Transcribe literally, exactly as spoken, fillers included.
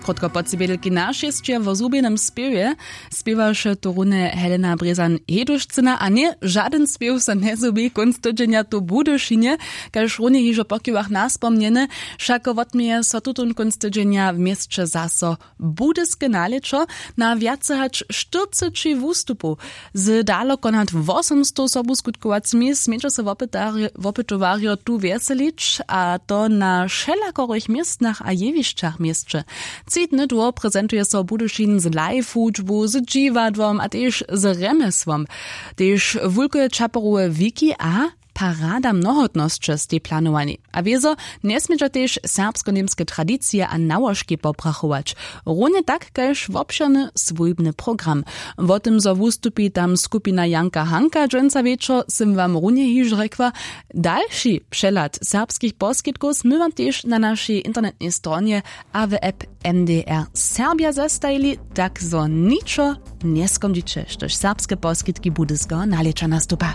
Krótko po tři bědelki na šěsće wo zhubjenym spěwje spěwaše tu runje Helena Brězan Hedušcyna a ně žadyn spěw so njezhubi kónc tydźenja tu w Budyšinje. Kaž runje hižo po chwilach naspomnjene, wšako wotměje so tutón kónc tydźenja w měsće zaso budyske nalěćo na wjace hač štyrceći wustupow. Z daloko nad wosomstow sobuskutkowacymi smědźo so wopytowarjo tu wjeselić, a to na wšelakorych městnach a jewišćach w měsće. Tři dny dłho prezentuje so Budyšin z live hudźbu, z dźiwadłom a tež z rjemjesłom. Tež wulke čaperowe wiki a parada mnohotnosće stej planowani. A wězo njesmědźa tež serbsko-němske tradicije a nałožki poprachować, runje tak kaž wobšěrny swójbny program. Wo tym zo wustupi tam skupina Janka Hanka dźensa wječor, sym wam runje hižo rjekła. Dalši přehlad serbskich poskitkow smy wam tež na našej internetnej stronje a w app N D R Serbja zestajili, tak zo ničo njeskondźiće, štož serbske poskitki budyskeho nalěća nastupa.